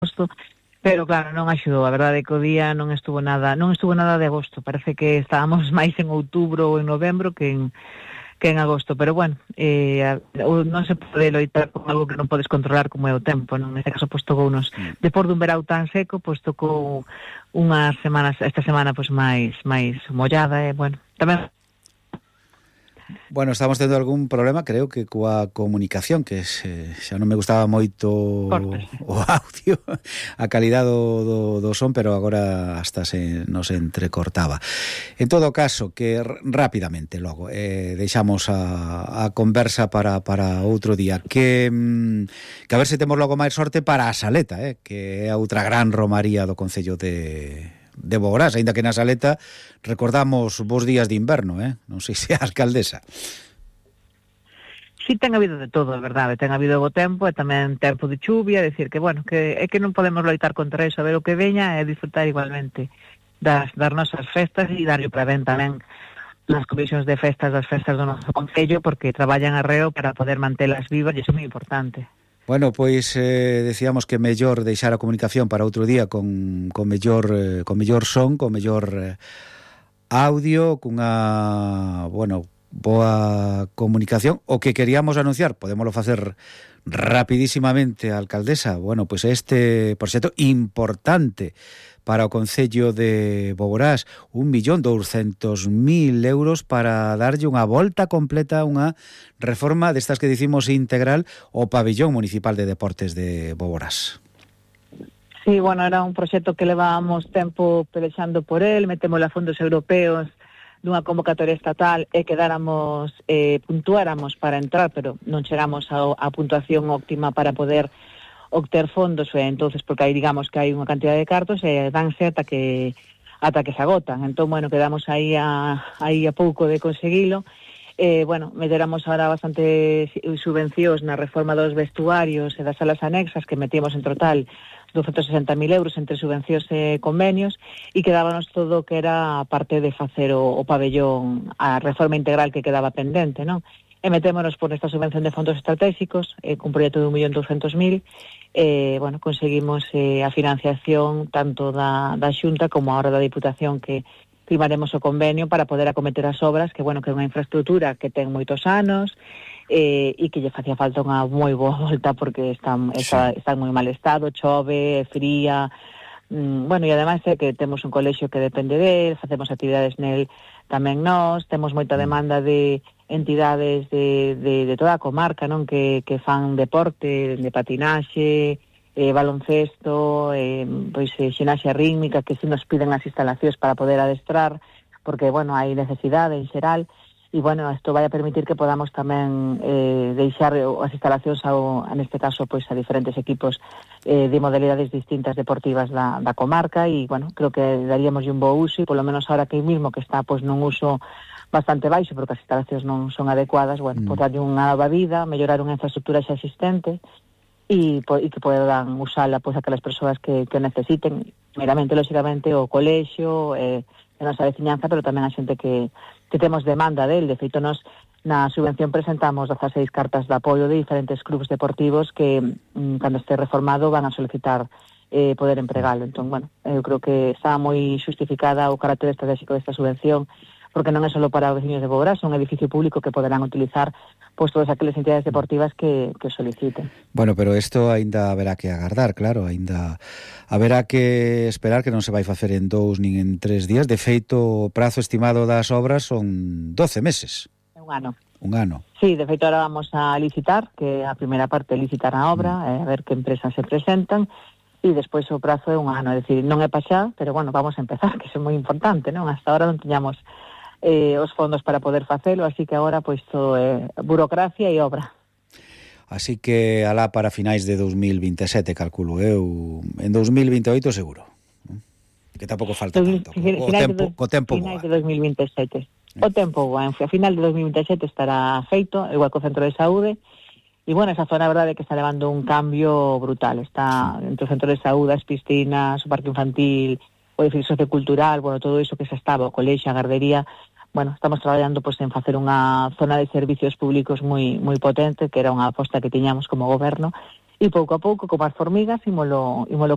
agosto, pero claro, non axudou, a verdade é que o día non estuvo nada de agosto, parece que estábamos máis en outubro ou en novembro que en agosto, pero bueno, non se pode loitar con algo que non podes controlar como é o tempo, non? Neste caso, pois tocounos, depois dun verão tan seco, pois tocou unhas semanas, esta semana pois máis mollada, bueno, tamén. Bueno, estamos tendo algún problema, creo que coa comunicación, que xa non me gustaba moito o audio, a calidad do son, pero agora hasta se nos entrecortaba. En todo caso, que rapidamente logo deixamos a conversa para outro día, que a ver se temos logo máis sorte para a Saleta, que é a outra gran romaría do concello de Boborás, aínda que na Saleta recordamos vos días de inverno, non sei se a alcaldesa. Sí, ten habido de todo, é verdade, ten habido bo tempo e tamén tempo de chuvia, decir que, bueno, que é que non podemos loitar contra eso, a ver o que veña e disfrutar igualmente das nosas festas e darlle para ben tamén nas comisións de festas das festas do noso concello, porque traballan arreo para poder mantelas vivas e iso é moi importante. Bueno, pois decíamos que mellor deixar a comunicación para outro día con mellor son, con mellor audio, cunha, boa comunicación. O que queríamos anunciar, podémoslo facer rapidísimamente, a alcaldesa, pois este proxecto importante para o concello de Boborás, 1.200.000 euros para darlle unha volta completa, unha reforma destas que dicimos integral ao pabillón municipal de deportes de Boborás. Sí, era un proxecto que levábamos tempo pelexando por él, metémosle a fondos europeos dunha convocatoria estatal e quedáramos, puntuáramos para entrar, pero non chegamos á puntuación óptima para poder obter fondos, entonces porque aí digamos que hai unha cantidad de cartos e danse ata que se agotan. Entón, quedamos aí a pouco de conseguilo. Meteramos ahora bastante subvencións na reforma dos vestuarios e das salas anexas, que metíamos en total 260.000 euros entre subvencións e convenios, e quedábamos todo que era a parte de facer o pabellón, a reforma integral que quedaba pendente, non? E metémonos por esta subvención de fondos estratégicos, cun proxecto de 1.200.000, conseguimos a financiación tanto da Xunta como ahora da Diputación, que firmaremos o convenio para poder acometer as obras, que é unha infraestructura que ten moitos anos e que lle facía falta unha moi boa volta porque está en moi mal estado, chove, fría, e ademais é que temos un colexio que depende del, facemos actividades nel tamén nós, temos moita demanda de entidades de toda a comarca, non, que fan deporte, de patinaxe, baloncesto, xinaxia rítmica, que si nos piden as instalacións para poder adestrar, porque, hai necesidade en xeral, e, isto vai a permitir que podamos tamén deixar as instalacións neste caso, a diferentes equipos de modalidades distintas deportivas da comarca, e, creo que daríamos un bo uso, e polo menos ahora que mismo que está, nun uso bastante baixo, porque as instalacións non son adecuadas, darlle unha nova vida, mellorar unha infraestructura xa existente e que podan usala aquelas persoas que necesiten, meramente, lógicamente, o colexio, a nosa veciñanza, pero tamén a xente que temos demanda del. De feito, nos na subvención presentamos 16 cartas de apoio de diferentes clubes deportivos que, cando este reformado, van a solicitar poder empregalo. Entón, eu creo que está moi xustificada o carácter estratégico desta subvención, porque non é só para os veciños de Boborás, é un edificio público que poderán utilizar todas aquelas entidades deportivas que soliciten. Pero isto aínda haberá que agardar, claro, aínda haberá que esperar, que non se vai facer en 2 nin en 3 días. De feito, o prazo estimado das obras son 12 meses. Un ano. Un ano. Sí, de feito, ahora vamos a licitar, que a primeira parte é licitar a obra, a ver que empresas se presentan, e despois o prazo é un ano, é dicir, non é pa xa, pero vamos a empezar, que iso é moi importante, non? Hasta ahora non tiñamos os fondos para poder facelo, así que agora todo é burocracia e obra. Así que alá para finais de 2027, calculo eu, en 2028 seguro, que tampouco falta tanto, o tempo finais de 2027. O tempo boa, a final de 2027 estará feito, igual co centro de saúde, e esa zona, a verdade, é que está levando un cambio brutal, está entre o centro de saúde, as piscinas, o parque infantil, o edificio sociocultural, todo iso que xa estaba, o colexio, a gardería. Estamos traballando en facer unha zona de servicios públicos moi potente, que era unha aposta que tiñamos como goberno, e pouco a pouco, como as formigas, ímolo